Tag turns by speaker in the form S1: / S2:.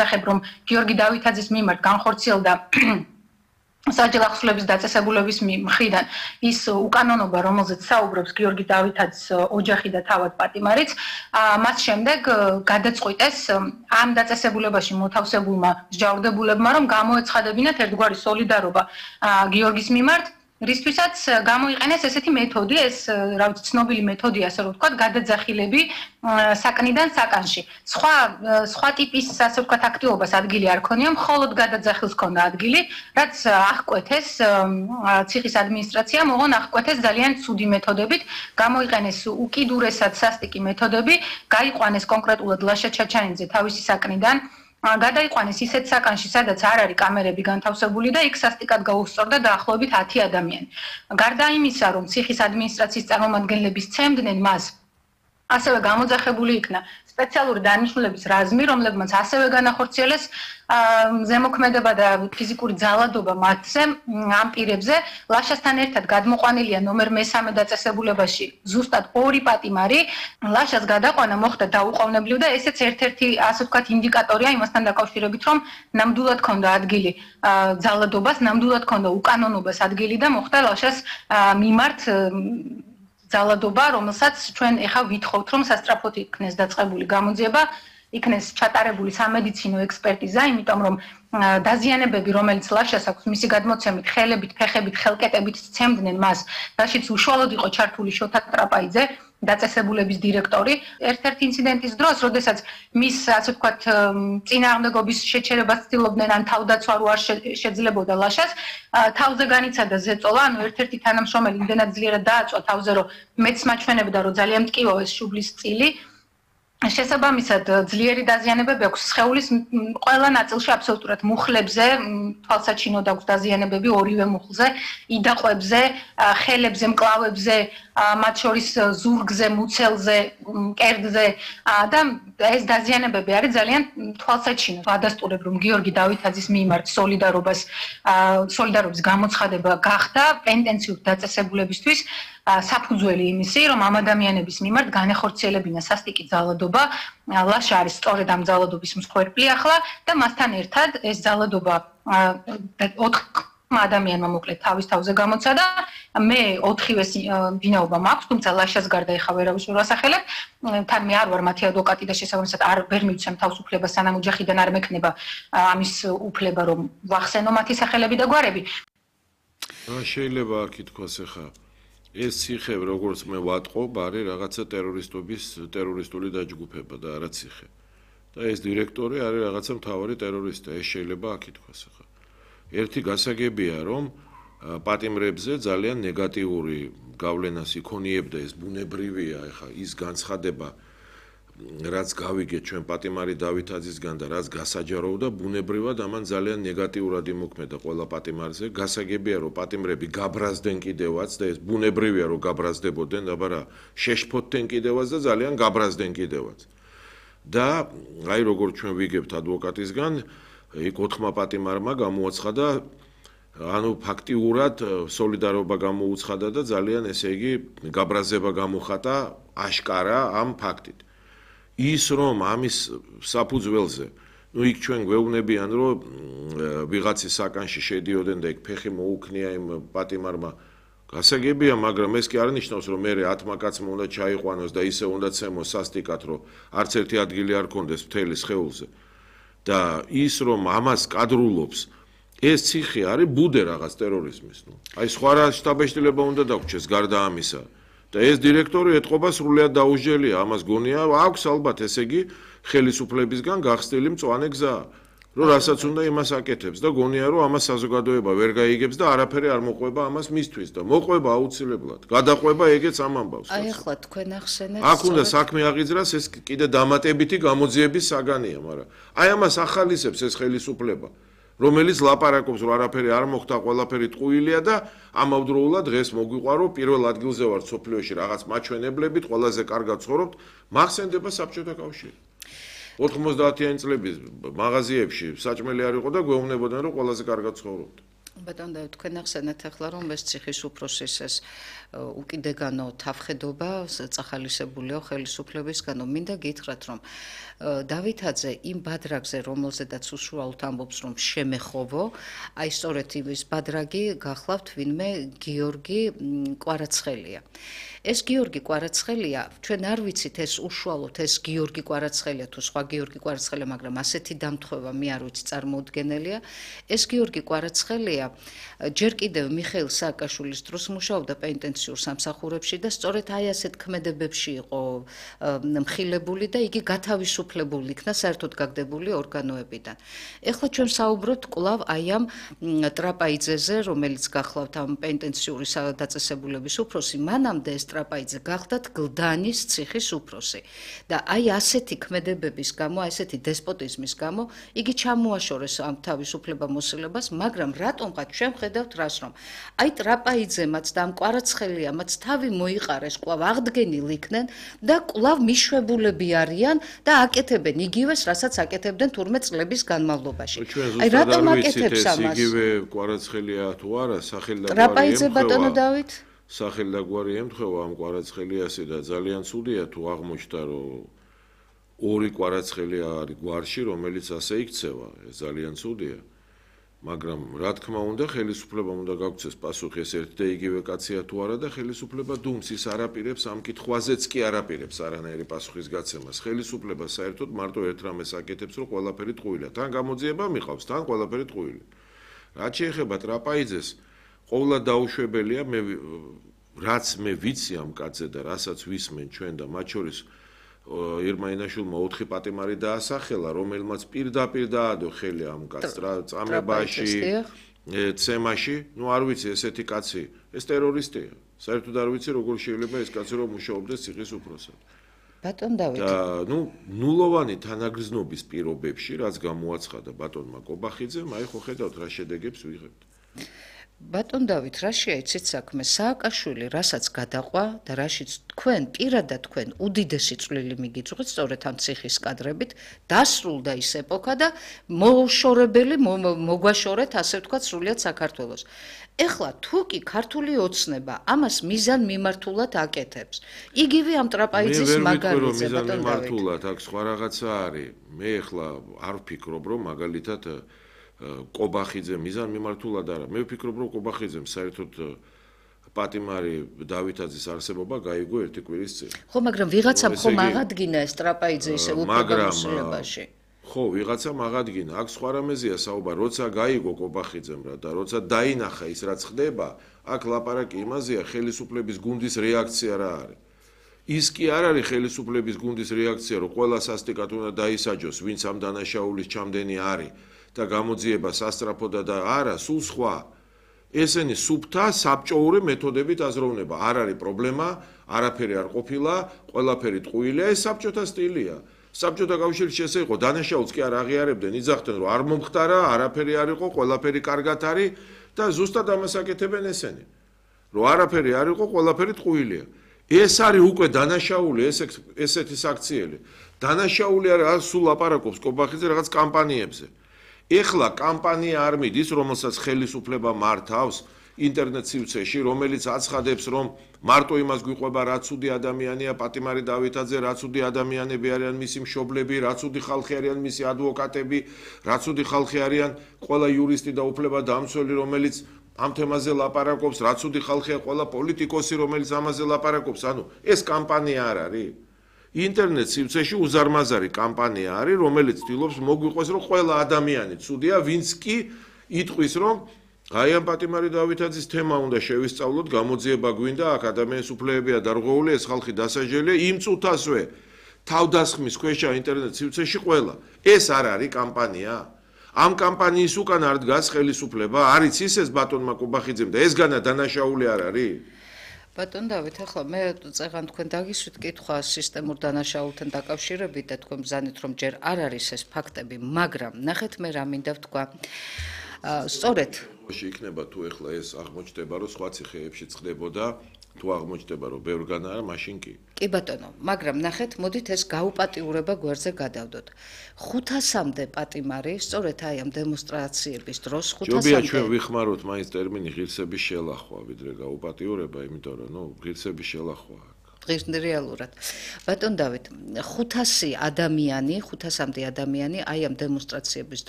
S1: მოსახებ, რომ გიორგი დავითაძის მიმართ განხორციელდა საჯარო ახსნების დაწესებულების მხრიდან ის უკანონობა, რომელზეც საუბრობს გიორგი დავითაძის ოჯახი და თავად პატიმარიც, მას შემდეგ გადაწყვიტეს ამ დაწესებულებაში მოთავსებულმა მსჯავრდებულებმა, რომ გამოეცხადებინათ ერთგვარი სოლიდარობა გიორგის მიმართ, რისთვისაც გამოიყენეს ესეთი მეთოდი, ეს რა ვიცი, ცნობილი მეთოდია, ასე რომ ვთქვათ, გადაძახილები საკნიდან საკანში. სხვა ტიპის, ასე ვთქვათ, აქტივობას ადგილი არ ქონია, მხოლოდ გადაძახილს ქონდა ადგილი, რაც აღკვეთეს ციხის ადმინისტრაციამ, ოღონ აღკვეთეს ძალიან ცუდი მეთოდებით, გამოიყენეს უკიდურესად სასტიკი მეთოდები, გაიყვანეს კონკრეტულად ლაშა ჩაჩანიძე თავისი საკნიდან, გადაიყვანეს ისეთ საკანში, სადაც არ არის კამერები განთავსებული და იქ სასტიკად გაუსწორდა დაახლოებით 10 ადამიანი. გარდა იმისა, რომ ციხის ადმინისტრაციის წარმომადგენლები სცემდნენ მას, ასევე გამოძახებული იქნა სპეციალური დანიშნულების რაზმი, რომლებმაც ასევე განახორციელეს ზემოქმედება და ფიზიკური ძალადობა მათზე ამ პირებზე. ლაშასთან ერთად გადმოყვანილია ნომერ მე-3 დაწესებულებაში ზუსტად 2 პატიმარი. ლაშას გადაყვანა მოხდა დაუყოვნებლივ და ესეც ერთ-ერთი, ასე ვთქვათ, ინდიკატორია იმასთან დაკავშირებით, რომ ნამდვილად ქონდა ადგილი ძალადობას, ნამდვილად ქონდა უკანონობას ადგილი და მოხდა ლაშას მიმართ ძალადობა, რომელსაც ჩვენ ეხლა ვითხოვთ, რომ სასტრაფოდ იქნეს დაწყებული გამოძიება, იქნეს ჩატარებული სამედიცინო ექსპერტიზა, იმიტომ რომ დაზიანებები, რომელიც ლაშას აქვს, მისი გადმოცემით, ხელებით, ფეხებით, ხელკეტებით სცემდნენ მას, რაშიც უშუალოდ იყო ჩართული შოთა ტრაპაიძე, დაწესებულების დირექტორი. ერთ-ერთი ინციდენტის დროს, როდესაც მის, ასე ვთქვათ, წინააღმდეგობის შეჩერებას ცდილობდნენ, ან თავდაცვა რო არ შეძლებოდა ლაშას, თავზე განიცადა ზეწოლა, ანუ ერთ-ერთი თანამშრომელი იმდენად ძლიერად დააწვა თავზე, რომ მეც მაჩვენებდა, რომ ძალიან მტკივო ეს შუბლის წილი. შესაბამისად, ძლიერი დაზიანებები აქვს სხეულის ყველა ნაწილში, აბსოლუტურად მუხლებზე, თვალსაჩინოდ აქვს დაზიანებები ორივე მუხლზე, იდაყვებზე, ხელებზე, მკლავებზე, მათ შორის ზურგზე, მუცელზე, მკერდზე და ეს დაზიანებები არის ძალიან თვალსაჩინო. ადასტურებ, რომ გიორგი დავითაძის მიმართ სოლიდარობის გამოცხადება გახდა პენტენციურ დაწესებულებისთვის საფუძველი იმისი, რომ ამ ადამიანების მიმართ განეხორციელებინა სასტიკი ძალადობა, ლაშა არის სწორედ ამ ძალადობის მსხვერპლი ახლა და მასთან ერთად ეს ძალადობა 4 ადამიანმა მოკლედ თავის თავზე გამოცადა, მე 4-ვეს ვინაობა მაქვს, თუმცა ლაშას გარდა ეხა ვერავის ვერ ვასახელებ, თან მე არ ვარ მათი ადვოკატი და შესაბამისად ვერ მივცემ თავს უფლებას, სანამ ოჯახიდან არ მექნება ამის უფლება, რომ ვახსენო მათი სახელები და გვარები.
S2: შეიძლება აქ ითქვას ეხა ეს ციხე, როგორც მე ვატყობ, არის რაღაცა ტერორისტული დაჯგუფება და არა ციხე. და ეს დირექტორი არის რაღაცა მთავარი ტერორისტი, ეს შეიძლება აქ ითქვას ახლა. ერთი გასაგებია, რომ პატიმრებზე ძალიან ნეგატიური გავლენას იქონიებდა, ეს ბუნებრივია, ახლა ის განცხადება, რაც გავიგეთ ჩვენ პატიმარი დავითაძისგან და რაც გასაჯაროვდა, ბუნებრივად ამან ძალიან ნეგატიურად იმოქმედა ყველა პატიმარზე. გასაგებია, რომ პატიმრები გაბრაზდნენ კიდევაც და ეს ბუნებრივია, რომ გაბრაზდებოდნენ, აბარა შეშფოთდნენ კიდევაც და ძალიან გაბრაზდნენ კიდევაც. და აი როგორც ჩვენ ვიგებთ ადვოკატისგან, იქ 4 პატიმარმა გამოაცხადა, ანუ ფაქტიურად სოლიდარობა გამოუცხადა და ძალიან, ესე იგი, გაბრაზება გამოხატა აშკარა ამ ფაქტით. ის რომ ამის საფუძველზე, იქ ჩვენ გვეუბნებიან, რომ ვიღაცის საკანში შედიოდნენ და იქ ფეხი მოუქნია იმ პატიმარმა. გასაგებია, მაგრამ ეს კი არ ნიშნავს, რომ მე 10 კაცმა უნდა ჩაიყვანოს და ისე უნდა ცემოს სასტიკად, რომ არც ერთი ადგილი არ კონდეს მთელი სხეულზე. და ის რომ ამას კადრულობს, ეს ციხე არის ბუდე რაღაც ტერორიზმის, აი სხვა რა შტაბეშტილება უნდა დაგვრჩეს გარდა ამისა. და ეს დირექტორი ეთყობა სრულიად დაუსჯელია, ამას გონია, აქვს ალბათ, ესე იგი, ხელისუფლებისგან გახსნილი მწვანე გზა, რომ რასაც უნდა იმას აკეთებს და გონია, რომ ამას საზოგადოება ვერ გაიგებს და არაფერი არ მოყვება ამას მისთვის და მოყვება აუცილებლად. გადაყვება ეგეც ამ ამბავს.
S3: აი ახლა თქვენ ახსენეთ.
S2: აქ უნდა საქმე აღიძრას, ეს კიდე დამატებითი გამოძიების საგანია, მაგრამ აი ამას ახალისებს ეს ხელისუფლება. რომელიც ლაპარაკობს, რომ არაფერი არ მოხდა, ყველაფერი ტყუილია და ამავდროულად დღეს მოგვიყვარო პირველ ადგილზე ვარ სოფლიოში რაღაც მაჩვენებლებით, ყველაზე კარგად ცხოვრობთ, მახსენდება საბჭოთა კავშირი. 90-იანი წლების მაღაზიებში საჭმელი არ იყო და გვეუბნებოდნენ, რომ ყველაზე კარგად ცხოვრობთ.
S3: ბატონო და თქვენ ახსენეთ ახლა რომ ეს ციხის უფროსის ეს უკიდეგანო თავხედობა წახალისებულია ხელისუფლებისგანო მინდა გითხრათ რომ დავითაძე იმ ბადრაგზე რომელზედაც უშუალოდ ამბობს რომ შემეხოვო აი სწორედ ის ბადრაგი გახლავთ ვინმე გიორგი კვარაცხელია ეს გიორგი კვარაცხელია ჩვენ არ ვიცით ეს უშუალოდ ეს გიორგი კვარაცხელია თუ სხვა გიორგი კვარაცხელია მაგრამ ასეთი დამთხვევა მე არ ვიცი წარმოუდგენელია ეს გიორგი კვარაცხელია ჯერ კიდევ მიხეილ სააკაშვილის დროს მუშაობდა პენიტენციურ სამსახურებში და სწორედ აი ასეთ ქმედებებში იყო მხილებული და იგი გათავისუფლებული იქნა საერთოდ გაგდებული ორგანოებიდან. ეხლა ჩვენ საუბრობთ კვლავ აი ამ ტრაპაიძეზე, რომელიც გახლავთ ამ პენიტენციური დაწესებულების უფროსი, მანამდე ეს ტრაპაიძე გახლდათ გლდანის ციხის უფროსი. და აი ასეთი ქმედებების გამო, ასეთი დესპოტიზმის გამო იგი ჩამოაშორეს ამ თავისუფლება მოსილებას, მაგრამ რატომღაც ჩვენ ხედავთ რას რომ აი ტრაპაიძემაც და ამ კვარაცხელიამაც თავი მოიყარეს, კვლავ აღდგენილ იქნენ და კვლავ მიშვებულები არიან და აკეთებენ იგივეს, რასაც აკეთებდნენ თურმე წლების განმავლობაში.
S2: აი რატომ აკეთებს ამას? იგივე კვარაცხელია თუ არა, სახელი და გვარი
S3: ტრაპაიძე ბატონო დავით?
S2: სახელი და გვარი ემთხვევა ამ კვარაცხელიასი და ძალიან ცუდია თუ აღმოჩნდა რომ ორი კვარაცხელია არის გვარში, რომელიც ასე იქცევა, ეს ძალიან ცუდია. მაგრამ რა თქმა უნდა, ხელისუფლებამ უნდა გაგვცეს პასუხი ეს ერთ და იგივე კაცია თუ არა და ხელისუფლება დუმს ის არაპირებს ამ კითხვაზეც კი არაპირებს არანაირი პასუხის გაცემას. ხელისუფლება საერთოდ მარტო ერთ რამეს აკეთებს, რომ ყველაფერი ტყუილია. თან გამოძიება მიყავს, თან ყველაფერი ტყუილი. რაც შეეხება ტრაპაიძეს, ყოვლად დაუშვებელია რაც მე ვიცი ამ კაცზე და რასაც ვისმენ ჩვენ და მათ შორის ირმა-ინაშვილმა 4 პატიმარი დაასახელა, რომელმაც პირდაპირ დაადო ხელი ამ კაცს წამებაში, ცემაში, ნუ არ ვიცი ესეთი კაცი, ეს ტერორისტია. საერთოდ არ ვიცი როგორ შეიძლება ეს კაცი რომ მუშაობდეს ციხის უფროსად.
S3: ბატონ დავით.
S2: და ნუ ნულოვანი თანაგრძნობის პირობებში, რაც გამოაცხადა ბატონმა კობახიძემ, აი ხო ხედავთ რა შედეგებს ვიღებთ.
S3: ბატონ დავით, რა შეიცით საქმე? სააკაშვილი რასაც გადაყვა და რაშიც თქვენ პირადად თქვენ უდიდესი წვლილი მიგიწვით სწორედ ამ ციხის კადრებით, დასრულდა ის ეპოქა და მოშორებელი მოგვაშორეთ, ასე ვთქვათ, სრულიად საქართველოს. ეხლა თუ კი ქართული ოცნება ამას მიზან მიმართულად აკეთებს. იგივე ამ ტრაპაიძის მაგალითზე, ბატონ დავით.
S2: მიმართულად აქ სხვა რაღაცა არის. მე ეხლა არ ვფიქრობ, რომ მაგალითად კობახიძე მიზან მიმართულად არა. მე ვფიქრობ, რომ კობახიძემ საერთოდ პატიმარი დავითაძის არსებობა გაიგო ერთი კვირის წინ.
S3: ხო, მაგრამ ვიღაცამ ხომ აღადგინა ეს ტრაპაიძე ისე უფლებამოსილებაში.
S2: ხო, ვიღაცამ აღადგინა. აქ სხვა რამეზია საუბარი, როცა გაიგო კობახიძემ რა და როცა დაინახა ის რაც ხდება, აქ ლაპარაკი იმაზეა, ხელისუფლების გუნდის რეაქცია რა არის. ის კი არ არის ხელისუფლების გუნდის რეაქცია, რომ ყველა სასტიკად უნდა დაისაჯოს, ვინც ამ დანაშაულის ჩამდენი არის. და გამოძიება სასტრაფოდა და არა, სულ სხვა. ესენი სუფთა საბჭოური მეთოდებით აზროვნება. არ არის პრობლემა, არაფერი არ ყოფილა, ყველაფერი ტყუილია, ეს საბჭოთა სტილია. საბჭოთა კავშირის ესე იყო, დანაშაულს კი არ აღიარებდნენ, იძახდნენ, რომ არ მომხდარა, არაფერი არ იყო, ყველაფერი კარგად არის და ზუსტად ამას აკეთებენ ესენი. რომ არაფერი არ იყო, ყველაფერი ტყუილია. ეს არის უკვე დანაშაული, ესეთი საქციელი. დანაშაული არის სულ ლაპარაკობს კობახიძე რაღაც კამპანიებზე. ეხლა კამპანია არ მიდის, რომელსაც ხელისუფლება მართავს ინტერნეტ სივრცეში, რომელიც აცხადებს, რომ მარტო იმას გვიყვება, რა ცუდი ადამიანია პატიმარი დავითაძე, რა ცუდი ადამიანები არიან მისი მშობლები, რა ცუდი ხალხი არიან მისი ადვოკატები, რა ცუდი ხალხი არიან ყველა იურისტი და უფლებადამცველი, რომელიც ამ თემაზე ლაპარაკობს, რა ცუდი ხალხია ყველა პოლიტიკოსი, რომელიც ამაზე ლაპარაკობს. ანუ ეს კამპანია არ არის. ინტერნეტ სივრცეში უზარმაზარი კამპანია არის, რომელიც ცდილობს მოგვიყვეს, რომ ყველა ადამიანი ცუდია, ვინც კი იტყვის, რომ აი ამ პატიმარი დავითაძის თემა უნდა შევისწავლოთ, გამოძიება გვინდა, აქ ადამიანის უფლებებია დარღვეული, ეს ხალხი დასაჯელია, იმ წუთასვე თავდასხმის ქვეშა ინტერნეტ სივრცეში ყველა. ეს არ არის კამპანია. ამ კამპანიის უკან არ დგას ხელისუფლება, არის ისეს ბატონმა კობახიძემ და ეს განა დანაშაული არ არის.
S3: ბატონ დავით, ახლა მე წეღან თქვენ დაგისვით კითხვა სისტემურ დანაშაულთან დაკავშირებით და თქვენ ბრძანეთ, რომ ჯერ არ არის ეს ფაქტები, მაგრამ ნახეთ მე რა მინდა ვთქვა. სწორედ
S2: იქნება თუ ეხლა ეს აღმოჩნდება, რომ სხვა ციხეებში ხდებოდა თუ აღმოჩნდება რომ ბევრგან არა, მაშინ კი.
S3: კი ბატონო, მაგრამ ნახეთ, მოდით ეს გაუპატიურება გვერდზე გადავდოთ. 500-მდე პატიმარი, სწორედ აი ამ დემონსტრაციების დროს 500-მდე.
S2: ჯობია ჩვენ ვიხმაროთ მაინც ტერმინი ღირსების შელახვა, ვიდრე გაუპატიურება, იმიტომ რომ ღირსების შელახვა.
S3: რეალურად. ბატონ დავით, 500-მდე ადამიანი აი ამ დემონსტრაციების